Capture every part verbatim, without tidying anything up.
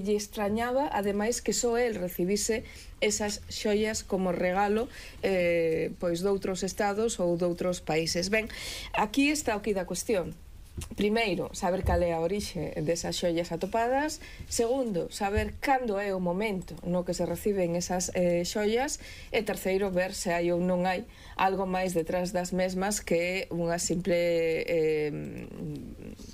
lle extrañaba, ademais, que só el recibise esas xoias como regalo eh, pois doutros estados ou doutros países. Ben, aquí está o que da cuestión. Primeiro, saber cal é a orixe desas xoias atopadas. Segundo, saber cando é o momento no que se reciben esas eh, xoias. E terceiro, ver se hai ou non hai algo máis detrás das mesmas que unha simple eh,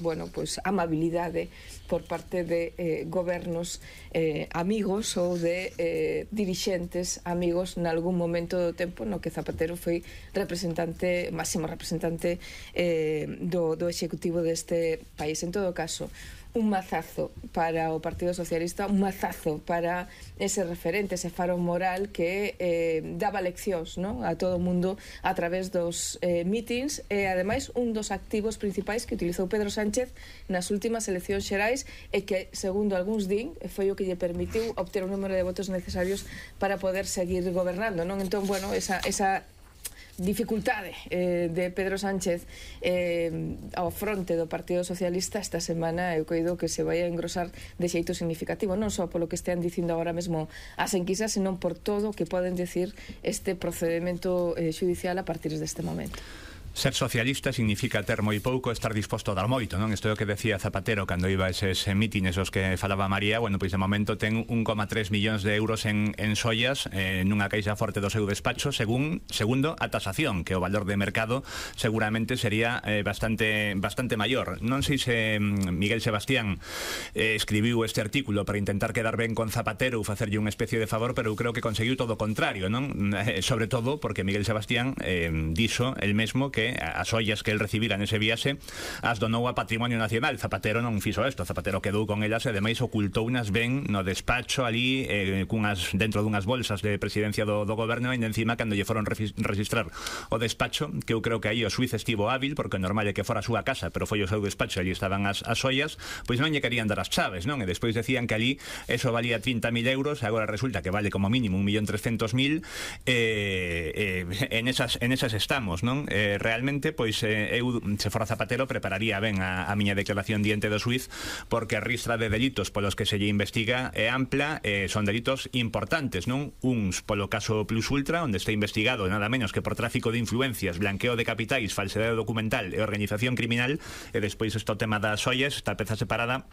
bueno, pois amabilidade por parte de eh, gobernos eh, amigos ou de eh, dirixentes amigos nalgún momento do tempo no que Zapatero foi representante, máximo representante eh, do, do executivo deste país. En todo caso, un mazazo para o Partido Socialista, un mazazo para ese referente, ese faro moral que eh, daba leccións, non, a todo o mundo a través dos eh, mítins, e ademais un dos activos principais que utilizou Pedro Sánchez nas últimas eleccións xerais e que, segundo algúns din, foi o que lle permitiu obter o número de votos necesarios para poder seguir gobernando, non? Entón, bueno, esa, esa dificultade eh, de Pedro Sánchez eh, ao fronte do Partido Socialista esta semana eu coido que se vai a engrosar de xeito significativo, non só polo que estean dicindo agora mesmo as enquisas, senón por todo o que poden decir este procedimento eh, judicial a partir deste momento. Ser socialista significa ter moi pouco, estar disposto a dar moito, non? Isto é o que decía Zapatero cando iba a eses mítines os que falaba María. Bueno, pois de momento ten un coma tres millóns de euros en, en xoias eh, nunha caixa forte do seu despacho, según, segundo a tasación, que o valor de mercado seguramente sería eh, bastante bastante maior. Non sei se Miguel Sebastián eh, escribiu este artículo para intentar quedar ben con Zapatero ou facerlle unha especie de favor, pero eu creo que conseguiu todo o contrario, non? Eh, sobre todo porque Miguel Sebastián eh, dixo el mesmo que as ollas que el recibira nese viaxe as donou a Patrimonio Nacional. Zapatero non fixo isto, Zapatero quedou con elas e ademais ocultounas ben no despacho ali eh, cunhas, dentro dunhas bolsas de presidencia do, do goberno, e encima cando lle foron registrar o despacho, que eu creo que aí o xuiz estivo hábil, porque normal é que fora a súa casa, pero foi o seu despacho, ali estaban as, as ollas, pois non lle querían dar as chaves, non? E despois decían que ali eso valía trinta mil euros, e agora resulta que vale como mínimo un millón trescentos mil, eh, eh, en, esas, en esas estamos, non? Eh, realmente, pois eh, eu, se fora Zapatero, prepararía ben a, a miña declaración diante do xuiz, porque a ristra de delitos polos que se lle investiga é ampla, eh, son delitos importantes, non? Uns polo caso Plus Ultra, onde está investigado nada menos que por tráfico de influencias, blanqueo de capitais, falsedade documental e organización criminal, e despois este tema das ollas, esta peza separada,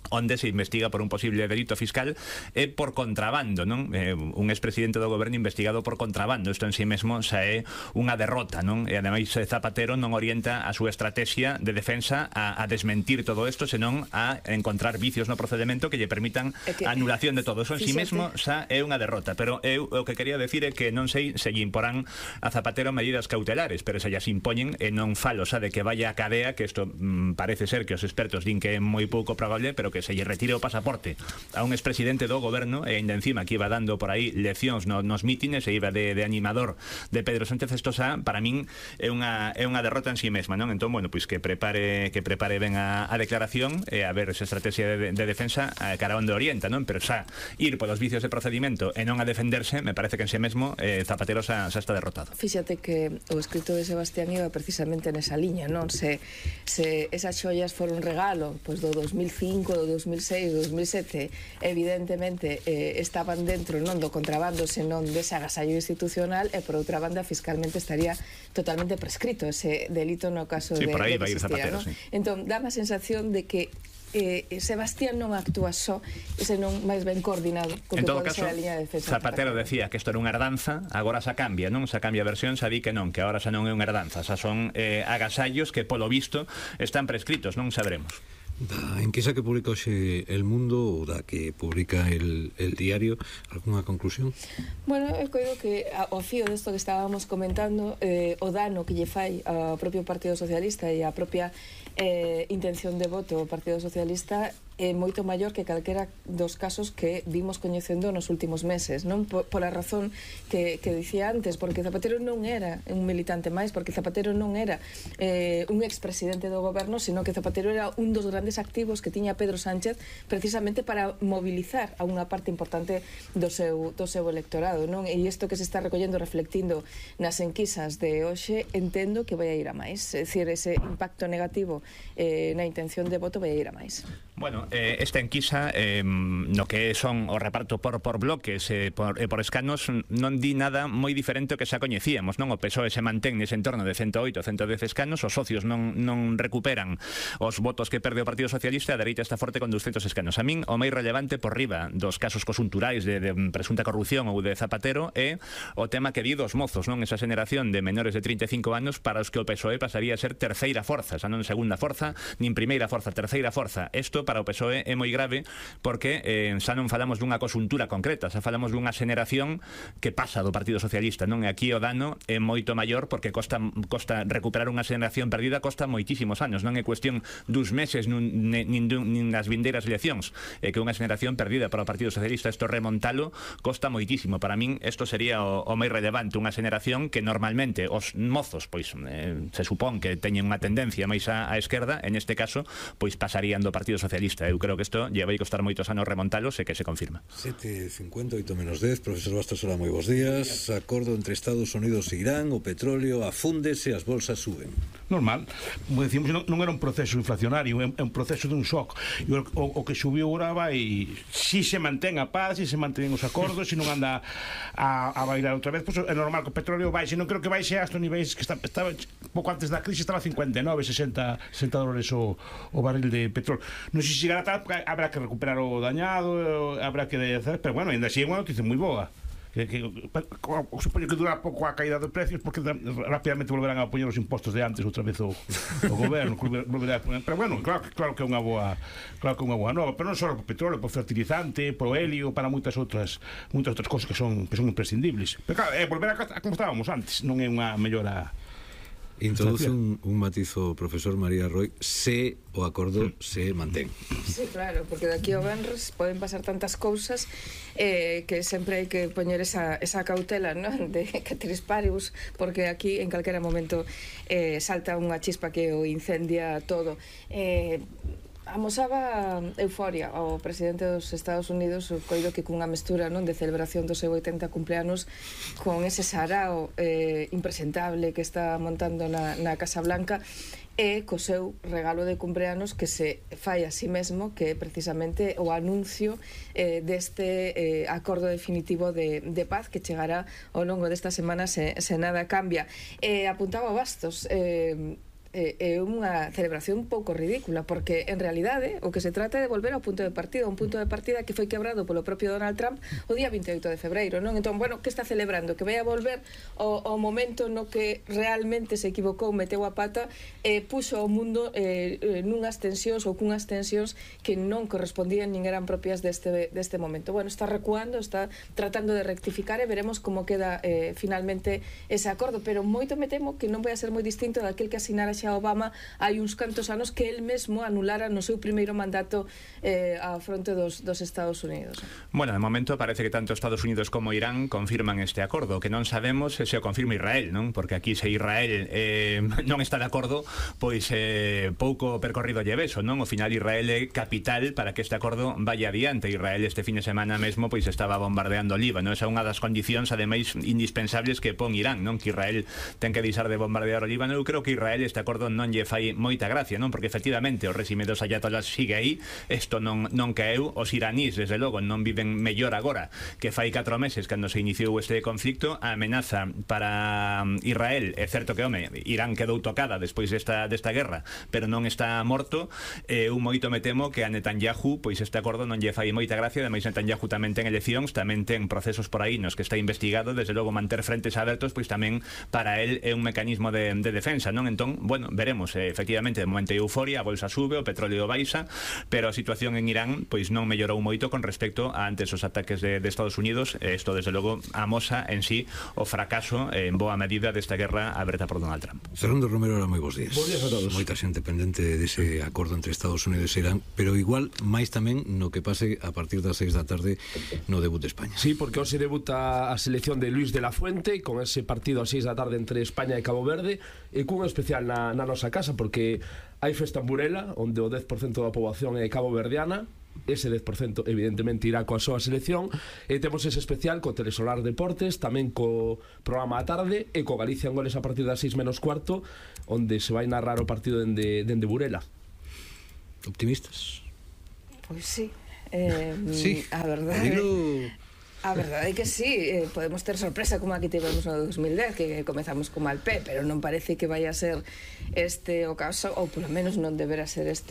onde se investiga por un posible delito fiscal e por contrabando, non? Eh, un expresidente do goberno investigado por contrabando, isto en si sí mesmo xa é unha derrota, non? E ademais Zapatero non orienta a súa estrategia de defensa a, a desmentir todo isto, senón a encontrar vicios no procedimento que lle permitan que, a anulación de todo. Iso en si sí mesmo xa é unha derrota, pero eu o que quería decir é que non sei se lle imporán a Zapatero medidas cautelares, pero se llas impoñen, e non falo xa de que vaya a cadea, que isto mm, parece ser que os expertos din que é moi pouco probable, pero que se lle retire o pasaporte a un expresidente do goberno, e ainda encima que iba dando por aí leccións no, nos mítines e iba de, de animador de Pedro Sánchez, isto xa, para min é unha, é unha derrota en si sí mesma, non? Entón, bueno, pois que prepare que prepare ben a, a declaración e a ver esa estrategia de, de defensa a cara onde orienta, non? Pero xa ir polos vicios de procedimento e non a defenderse, me parece que en si sí mesmo eh, Zapatero xa, xa está derrotado. Fíxate que o escrito de Sebastián iba precisamente nesa liña, non? Se, se esas xoias foron un regalo pois do dos mil cinco, do dos mil seis, do dos mil sete, evidentemente eh, estaban dentro non do contrabando, senón dese agasallo institucional, e por outra banda fiscalmente estaría totalmente prescrito ese delito no caso sí, de, por aí de vai ir Zapatero, ¿no? Sí. Entón, dá a sensación de que eh, Sebastián non actúa só, senón máis ben coordinado co que pode ser a liña de defensa. Zapatero decía que isto era unha herdanza, agora xa cambia, non? Xa cambia a versión, xa di que non, que agora xa non é unha herdanza, xa son eh, agasallos que polo visto están prescritos, non sabremos. Da enquisa que publica hoxe El Mundo ou da que publica el, el diario, algunha conclusión? Bueno, eu coido que ao fío desto que estábamos comentando, eh, o dano que lle fai ao propio Partido Socialista e a propia eh, intención de voto ao Partido Socialista é moito maior que calquera dos casos que vimos coñecendo nos últimos meses, non? Por, por a razón que, que dicía antes, porque Zapatero non era un militante máis, porque Zapatero non era eh, un expresidente do goberno, sino que Zapatero era un dos grandes activos que tiña Pedro Sánchez precisamente para mobilizar a unha parte importante do seu, do seu electorado, non? E isto que se está recollendo, reflectindo nas enquisas de hoxe, entendo que vai a ir a máis, é dicir, ese impacto negativo eh, na intención de voto vai a ir a máis. Bueno, Bueno, eh, esta enquisa eh, no que son o reparto por por bloques e eh, por, eh, por escanos non di nada moi diferente ao que xa coñecíamos, non? O P S O E se mantén nese entorno de ciento oito, ciento dez escanos, os socios non, non recuperan os votos que perde o Partido Socialista, a dereita está forte con doscientos escanos. A min o máis relevante por riba dos casos cosunturais de, de presunta corrupción ou de Zapatero é o tema que di dos mozos, non? Esa xeneración de menores de trinta e cinco anos para os que o P S O E pasaría a ser terceira forza, xa non segunda forza, nin primeira forza, terceira forza. Isto para o P S O E é moi grave porque eh, xa non falamos dunha cosuntura concreta, xa falamos dunha xeneración que pasa do Partido Socialista, non? E aquí o dano é moito maior porque costa, costa recuperar unha xeneración perdida costa moitísimos anos, non é cuestión dos meses nin, nin, nin das vindeiras eleccións, é que unha xeneración perdida para o Partido Socialista, isto remontalo costa moitísimo. Para min isto sería o, o máis relevante, unha xeneración que normalmente os mozos pois eh, se supón que teñen unha tendencia máis á, á esquerda, en este caso pois pasarían do Partido Socialista. Eu creo que isto lle vai costar moitos anos remontalos e que se confirma. sete cincuenta, oito menos dez, profesor Bastos, hola, moi bons días. Acordo entre Estados Unidos e Irán, o petróleo afúndese, as bolsas suben. Normal, como decimos, non, non era un proceso inflacionario, é un proceso dun shock. E o, o, o que subiu agora vai, si se mantén a paz, si se mantén os acordos, si non anda a, a bailar outra vez, pois é normal que o petróleo baixe. Non creo que baixe a estos niveis que está, estaba pouco antes da crise, estaba cincuenta e nove, sesenta dólares o, o barril de petróleo. Non sei se chegará tal, habrá que recuperar o dañado, habrá que hacer, pero bueno, ainda así é unha noticia moi boa. Que, que, supoño que dura pouco a caída dos precios porque rápidamente volverán a poñer os impostos de antes outra vez o, o goberno volverá a poner, pero bueno, claro, claro que é unha boa claro que é unha boa nova, pero non só por petróleo, por fertilizante, por helio, para moitas outras moitas outras cosas que son que son imprescindibles, pero claro, é volver a, a como estábamos antes, non é unha mellora. Introduce un, un matizo, profesor María Roy, se o acordo se mantén. Sí, claro, porque daqui ao venres poden pasar tantas cousas eh, que sempre hai que poñer esa, esa cautela, non? De Cateris Paribus, porque aquí en calquera momento eh, salta unha chispa que o incendia todo. Eh, amosaba euforia ao presidente dos Estados Unidos, o coido que cunha mestura, non, de celebración do seu oitenta cumpleanos con ese sarao eh, impresentable que está montando na, na Casa Blanca e co seu regalo de cumpleanos que se fai a sí mesmo, que é precisamente o anuncio eh, deste eh, acordo definitivo de, de paz que chegará ao longo desta semana se, se nada cambia. Eh, apuntaba Bastos, eh, é unha celebración un pouco ridícula porque en realidade o que se trata é de volver ao punto de partida, un punto de partida que foi quebrado polo propio Donald Trump o día vinte e oito de febreiro, non? Entón, bueno, que está celebrando? Que vai a volver ao, ao momento no que realmente se equivocou, meteu a pata e eh, puxo ao mundo eh, eh, nunhas tensións ou cunhas tensións que non correspondían nin eran propias deste, deste momento. Bueno, está recuando, está tratando de rectificar e veremos como queda eh, finalmente ese acordo, pero moito me temo que non vai a ser moi distinto daquel que asinara xa Obama hai uns cantos anos que el mesmo anulara no seu primeiro mandato eh, á fronte dos, dos Estados Unidos. Bueno, de momento parece que tanto Estados Unidos como Irán confirman este acordo, que non sabemos se o confirma Israel, non? Porque aquí se Israel eh, non está de acordo, pois eh, pouco percorrido lle beso, non? Ao final Israel é capital para que este acordo vaya adiante. Israel este fin de semana mesmo pois estaba bombardeando Líbano, esa é unha das condicións ademais indispensables que pon Irán, non? Que Israel ten que deixar de bombardear o Líbano. Eu creo que Israel este acordo non lle fai moita gracia, non? Porque efectivamente o réxime dos ayatolás sigue aí, isto non, non caeu, os iranís desde logo non viven mellor agora que fai catro meses cando se iniciou este conflicto. A amenaza para Israel, é certo que, home, Irán quedou tocada despois desta, desta guerra, pero non está morto. Eu moito me temo que a Netanyahu pois este acordo non lle fai moita gracia. Ademais Netanyahu tamén ten eleccións, tamén ten procesos por aí nos que está investigado, desde logo manter frentes abertos pois tamén para él é un mecanismo de, de defensa, non? Entón, bueno, veremos, eh, efectivamente, de momento hai euforia, a bolsa sube, o petróleo baixa, pero a situación en Irán pois non mellorou moito con respecto a antes os ataques de, de Estados Unidos. Isto, desde logo, amosa en sí o fracaso eh, en boa medida desta guerra aberta por Donald Trump. Fernando Romero, ahora moi bons días. Bons días a todos. Moita xente pendente dese acordo entre Estados Unidos e Irán, pero igual máis tamén no que pase a partir das seis da tarde no debut de España. Sí, porque hoxe debuta a selección de Luis de la Fuente con ese partido a seis da tarde entre España e Cabo Verde, e cun especial na, na nosa casa, porque hai festa en Burela, onde o dez por cento da poboación é caboverdiana. Ese dez por cento evidentemente irá coa súa selección, e temos ese especial co Telesolar Deportes, tamén co programa a tarde e co Galicia en Goles a partir das seis menos cuarto, onde se vai narrar o partido dende, dende Burela. Optimistas? Pois sí. Eh, Sí, a verdade... dilo... A verdade é que sí, eh, podemos ter sorpresa como aquí tivemos no dos mil dez, que comezamos con mal pé, pero non parece que vai a ser este o caso, ou polo menos non deberá ser este